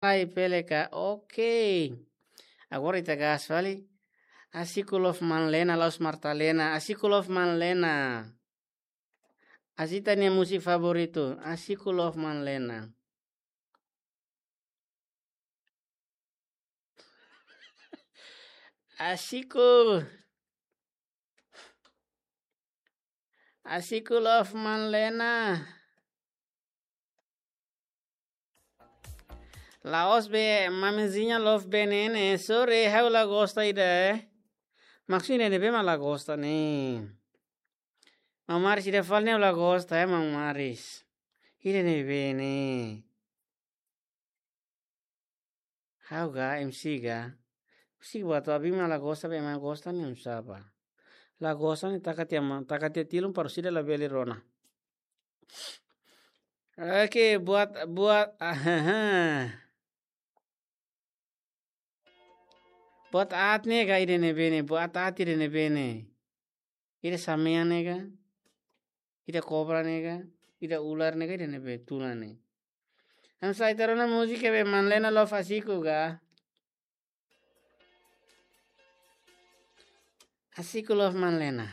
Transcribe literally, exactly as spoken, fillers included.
Ai, pele ka. Oke. Agora ita gas fali. Asiku love Manlena, la'ós Martalena. Asiku love Manlena. Asi ita-nia múzika favoritu. Asiku love Manlena. Asiku. Asiku love Manlena. La'ós be, Mamizinha love be ne'e ne'e. Sorry, ha'u la gosta ida, eh. Maksudnya ne'ebé mak la gosta ne'e. Maun Maris ida fali ne'e la gosta, eh, Maun Maris. Ida ne'ebé ne'e. Ha'u ga, M C ga. Musik buat abi mak la gosta be ema gosta ne'e oinsá ba. La gosta ne'e taka tiha ma, taka tiha tilun para sira labele rona. Oke, buat, buat, ahaha. Buat aat ne'e ka ida ne'ebé ne'e, buat aat ida ne'ebé ne'e. Ida samea ne'e ka, ida kobra ne'e ka, ida ular ne'e ka, ida ne'ebé tuna ne'e. Hanesan ita rona múzika be Manlena love Asiku ka. Asiku love Manlena.